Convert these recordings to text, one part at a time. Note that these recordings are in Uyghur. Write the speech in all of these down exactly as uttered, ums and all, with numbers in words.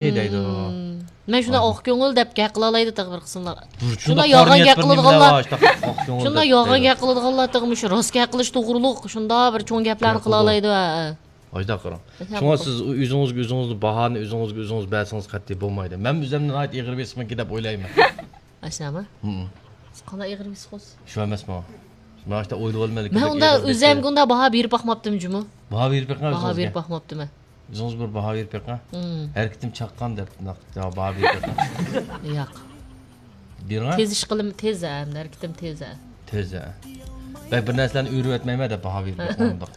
دەيدۇ. مم. مەن شۇنداق ئاق كۆڭۈل دەپ گەپ قىلالايدۇ تېخى بىر قىسىملار. شۇنداق يالغان گەپ قىلىدىغانلار. شۇنداق يالغان گەپ قىلىدىغانلار تېخى مۇشۇ راست گەپ قىلىش توغرۇلۇق شۇنداق بىر چوڭ گەپلەرنى قىلالايدۇ. ھە، ھە. ئاشۇنداق قىلىڭ. شۇڭا سىز ئۆزىڭىزگە ئۆزىڭىزنى باھانى ئۆزىڭىزگە ئۆزىڭىز بەرسىڭىز قەتئىي بولمايدۇ. مەن ئۆزۈمنى ناھايىتى ئېغىر بېسىقمىكىن دەپ ئويلايمەن. ئاشۇنداقمۇ؟ ھم. سىز قانداق ئېغىر بېسىق بولسىز؟ شۇ ئەمەسمۇ؟ مەن ئاشتا ئويلىۋالمىدىم. مەن ئۇندا ئۆزۈمگە ئۇنداق باھا بېرىپ باقماپتىم جۇمۇ. باھا بېرىپ بېقىڭ. باھا بېرىپ باقماپتىمەن. ئۆزىڭىز بىر باھا بېرىپ بېقىڭ. مم. ھەرىكىتىم چاققان دەپ باھا بېرىپ بېقىڭ. ياق. بېرىڭ. تېز ئىش قىلىم، تېز ھە، ھەرىكىتىم تېز ھە. تېز ھە. بەك بىر نەرسىلەرنى ئۆرۈۋەتمەيمەن دەپ باھا بېرىپ بېقىڭ ئۇنداق.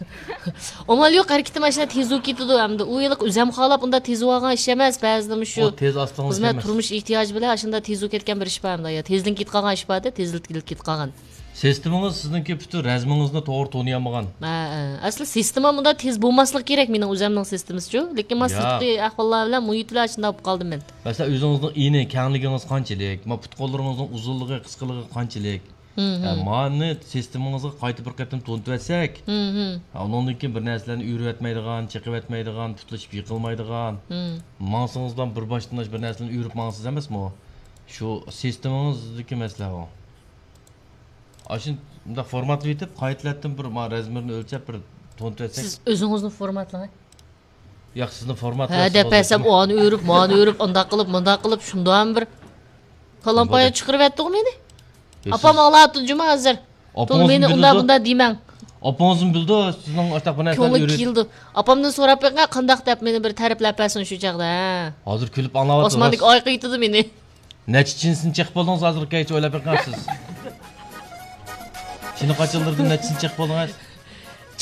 ئامال يوق، ھەرىكىتىم ئاشۇنداق تېز بولۇپ كېتىدۇ ئەمدى. ئۇ ھېلىقى ئۆزۈم خالاپ ئۇنداق تېز بولغان ئىش ئەمەس، بەزىدە مۇشۇ ئۇ تېز ئاستىڭىز خىزمەت، ئىش ئەمەس. تۇرمۇش ئېھتىياجى بىلەن ئاشۇنداق تېز بولۇپ كەتكەن بىر ئىش بار ئەمدى. يا تېزدىن كېتىدىغان ئىش بار-دە، تېزلىتىپ كېتىدىغان. سىستېمىڭىز سىزنىڭكى پۈتۈن رەزمىڭىزنى توغرا تونۇيالمىغان. ھە، ھە. ئەسلى سىستېما مۇنداق تېز بولماسلىقى كېرەك مېنىڭ ئۆزەمنىڭ سىستېمىسىچۇ. لېكىن مەن ياق. سىرتقى ئەھۋاللار بىلەن، مۇھىت بىلەن شۇنداق بولۇپ قالدىم مەن. مەسىلەن، ئۆزىڭىزنىڭ ئېنى، كەڭلىكىڭىز قانچىلىك؟ ما پۇت-قوللىرىڭىزنىڭ ئۇزۇنلۇقى، قىسقىلىقى قانچىلىك؟ ھە، مانى سىستېمىڭىزغا قايتا بىر قېتىم تونۇتۇۋەتسەك، ھە، ئۇنىڭدىن كېيىن بىر نەرسىلەرنى ئۆرۈۋەتمەيدىغان، چېقىۋەتمەيدىغان، پۇتلىشىپ يىقىلمايدىغان، ماڭسىڭىزلا بىر باشتىن بىر نەرسىلەرنى ئۆرۈپ ماڭىسىز ئەمەسمۇ؟ شۇ سىستېمىڭىزدىكى مەسىلە ئۇ. ئاشۇنداق فورماتلىۋېتىپ، قايتىلەتتىن بىر ما رەزمىرنى ئۆلچەپ بىر تونۇتۇۋەتسەك. سىز ئۆزىڭىزنى فورماتلىڭ. ياق، سىزنى فورماتلاش ھە دەپ بەرسەم، ئانى ئۆرۈپ، مانى ئۆرۈپ، ئانداق قىلىپ، مۇنداق قىلىپ، شۇنداقمۇ بىر كالامپايا چىقىرىۋەتتىڭغۇ مېنى. ئاپام ئاڭلاۋاتىدۇ جۇما ھازىر. تۇڭ مېنى ئۇنداق بۇنداق دېمەڭ. ئاپىڭىزمۇ بىلىدۇ، سىزنىڭ ئاشۇنداق بىر نەرسىلەرنى كۆڭلى كېلىدۇ. ئاپامدىن سوراپ بېقىڭ، قانداق دەپ مېنى بىر تەرىپلەپ بەرسۇن شۇ چاغدا، ھە. ھازىر كۈلۈپ ئاڭلاۋاتىدۇ. ئاسماندىكى ئاي قېيىتىدۇ مېنى. نەچچە چىنسىنى چېقىپ بولدىڭىز ھازىرغىچە ئويلاپ بېقىڭ سىز. چىنە قاچىلىرىدىن نەچچىسىنى چېقىپ بولدىڭىز؟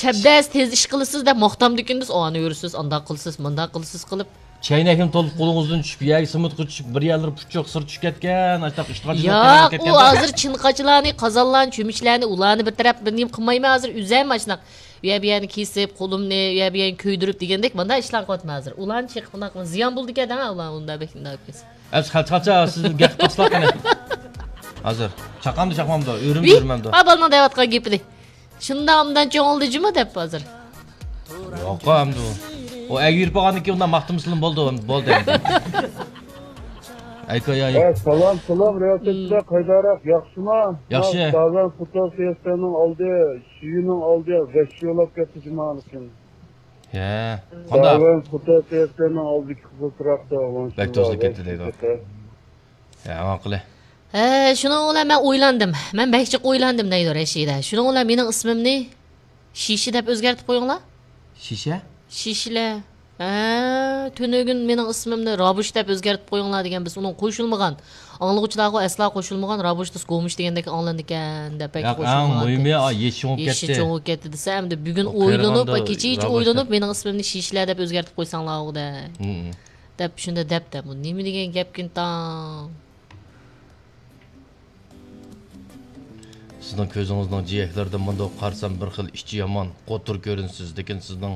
چەبدەس تېز ئىش قىلىسىز دەپ ماختامدىكىن بىز ئانى يۈرىسىز، ئانداق قىلىسىز، مۇنداق قىلىسىز قىلىپ. چەينەكنى تولۇپ قولىڭىزدىن چۈشۈپ، يەرگە سىمىتقا چۈشۈپ، بىر يەرلىرى پۇچۇق، سىرى چۈشۈپ كەتكەن، ئاشۇنداق ئىشقا ياق، ئۇ ھازىر چىنە قاچىلارنى، قازانلارنى، چۆمۈچلەرنى، ئۇلارنى بىر تەرەپ بىر نېمە قىلمايمەن ھازىر، ئۆزەم ئاشۇنداق. ئۇ يەر بۇ يەرنى كېسىپ، قولۇمنى ئۇ يەر بۇ يەرنى كۆيدۈرۈپ دېگەندەك، مانداق ئىشلارنى قىلىۋاتىمەن ھازىر. ئۇلارنى چېقىپ، ئۇنداق قىلىپ زىيان بولىدىكەن دەڭ، ئۇلار ئۇنداق بەك ئۇنداق قىلسا. ئەمسە قاچا، قاچا، سىز گەپ قىلسىلا قېنى. ھازىر چاقامدۇ، چاقمامدۇ، ئۆرۈمدۇ، ئۆرمەمدۇ؟ ھە، بالىنىڭ دەۋاتقان گېپىنى. شۇنداق ئوبدان چوڭ بولدى جۇمۇ دەپ ھازىر. ياق، ئەمدى ئۇ ئەگىپ بولغاندىن كېيىن ئۇنداق ماختىمىسىلىم بولدى، بولدى ئەمدى. ئەيكا، يا، يا. ھە، سالام، سالام، رىياسەتچىلەر، قايداراق، ياخشىما؟ ياخشى. داۋەن فوتو سىياسەتنىڭ ئالدى، شىيىنىڭ ئالدى، بەش يولاپ كەتتى جۇمالىكىن. ھە، قانداق؟ داۋەن فوتو سىياسەتنىڭ ئالدىدىكى قىزىل تۇراقتا، بەك توسۇلۇپ كەتتى دەيدۇ. ھە، ئاڭا قىلە. ھە، شۇنىڭ بىلەن مەن ئويلاندىم. مەن بەك جىق ئويلاندىم دەيدۇ رەشىدە. شۇنىڭ بىلەن مېنىڭ ئىسمىمنى شىشە دەپ ئۆزگەرتىپ قويۇڭلار. شىشە؟ شىشىلە. ھە، تۈنۈگۈن مېنىڭ ئىسمىمنى رابۇش دەپ ئۆزگەرتىپ قويۇڭلار دېگەن، بىز ئۇنىڭغا قوشۇلمىغان. ئاڭلىغۇچىلارغۇ ئەسلا قوشۇلمىغان، رابۇش دېسە گومۇش دېگەندەك ئاڭلىنىدىكەن دەپ بەك ياق، ئەڭ قوشۇلمىغان. مۇھىمى، ئا، يېشى چوڭىيىپ كەتتى. يېشى چوڭىيىپ كەتتى دېسە، ئەمدى بۈگۈن ئويلىنىپ، كېچىچە ئويلىنىپ، مېنىڭ ئىسمىمنى شىشىلە دەپ ئۆزگەرتىپ قويساڭلارغۇ دە. دەپ شۇنداق دەپتە. بۇ نېمە دېگەن گەپكىن تاڭ؟ سىزنىڭ كۆزىڭىزنىڭ جىيەكلىرىدىن مۇنداق قارىسام، بىر خىل ئىچى يامان، قوتۇر كۆرۈنىسىز، لېكىن سىزنىڭ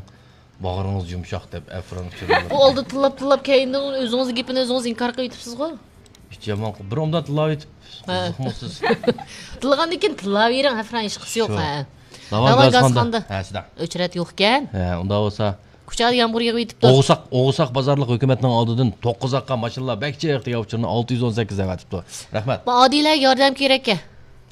باغرىڭىز يۇمشاق دەپ ئەفران ئۇچۇرلىرى. بۇ ئالدى تىللاپ، تىللاپ، كەينىدىن ئۆزىڭىزنىڭ گېپىنى ئۆزىڭىز ئىنكار قىلىۋېتىپسىزغۇ. ئىچى يامان، بىر ئوبدان تىللاۋېتىپ، ھە. قىزىقمۇسىز. تىللىغاندىن كېيىن تىللاۋېرىڭ، ئەفران، ھېچقىسى يوق، شۇ. ھە. داۋان گاز قاندا. ھە، سىدە. ئۆچرەت يوقكەن. ھە، ئۇنداق بولسا. كۇچادا يامغۇر يېغىۋېتىپتۇ. ئوغۇساق، ئوغۇساق بازارلىق ھۆكۈمەتنىڭ ئالدىدىن توققۇز ئاققا ماشىنىلار بەك جىق دېگەن ئۇچۇرنى ئالتە يۈز ئون سەككىز دەۋېتىپتۇ. رەھمەت. بۇ ئادىلەگە ياردەم كېرەككەن.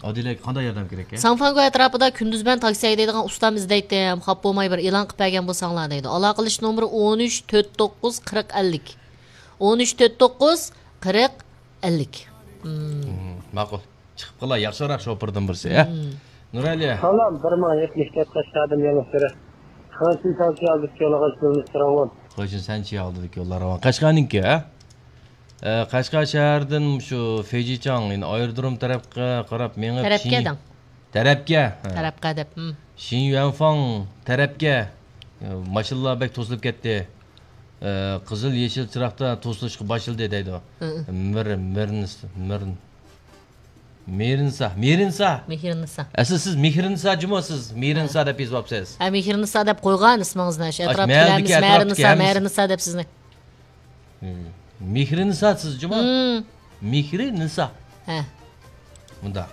ئادىلەگە قانداق ياردەم كېرەككەن؟ ساڭفاڭگو ئەتراپىدا كۈندۈزمەن تاكسى ھەيدەيدىغان ئۇستام ئىزدەيتتىم. خاپا بولماي بىر ئېلان قىلىپ بەرگەن بولساڭلار دەيدۇ. ئالاقىلىشىش نومۇرى ئون ئۈچ تۆت توققۇز قىرىق ئەللىك. ئون ئۈچ تۆت توققۇز قىرىق ئەللىك. مم. مم، ماقۇل. چىقىپ قالا، ياخشىراق شوپۇردىن بىرسى، ھە؟ مم. نۇرئەلى. سالام، بىر مىڭ يەتمىش تۆت قەشقەردىن يېڭى سۈرە. خېڭشىن سەنچى ئالدىدىكى يوللارغا ئىشلىنىش راۋان. خېڭشىن سەنچى ئالدىدىكى يوللار راۋان. قەشقەرنىڭكى، ھە؟ ئە، قەشقەر شەھىرىدىن شۇ فېيجىچاڭ، يەنى ئايرودروم تەرەپكە قاراپ مېڭىپ تەرەپكە شىن-، دەڭ. تەرەپكە، ھە. تەرەپكە دەپ، ھىم. شىنيۈەنفاڭ تەرەپكە، ئە، ماشىنىلار بەك توسۇلۇپ كەتتى. ئە، قىزىل، يېشىل چىراغدا توسۇلۇشقا باشلىدى دەيدۇ. ھىم. مىر، مىرنس، مىرن-، مىرنسا، مىرنسا. مېھرىنسا. ئەسلى سىز مېھرىنسا جۇمۇ سىز، مىرنسا دەپ يېزىۋاپسىز. ھە، مېھرىنسا دەپ قويغان ئىسمىڭىزنى، شۇ ئەتراپتىكىلەرمۇ مەھەللىدىكى، مېھرىنسا، ئەتراپتىكى ھەممىسى. مېھرىنسا دەپ سىزنى. مم. مېھرىنسا سىز جۇمۇ؟ مم. مېھرىنسا. ھە. مۇنداق.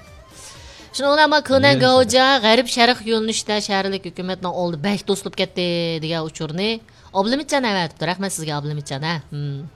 شۇنىڭ بىلەن ما كېنەن گاۋجا غەرب شەرق يۆنىلىشىدە شەھەرلىك ھۆكۈمەتنىڭ ئالدى بەك توسۇلۇپ كەتتى دېگەن ئۇچۇرنى ئابلىمىتجان ئەۋەتىپتۇ. رەھمەت سىزگە، ئابلىمىتجان، ھە. مم.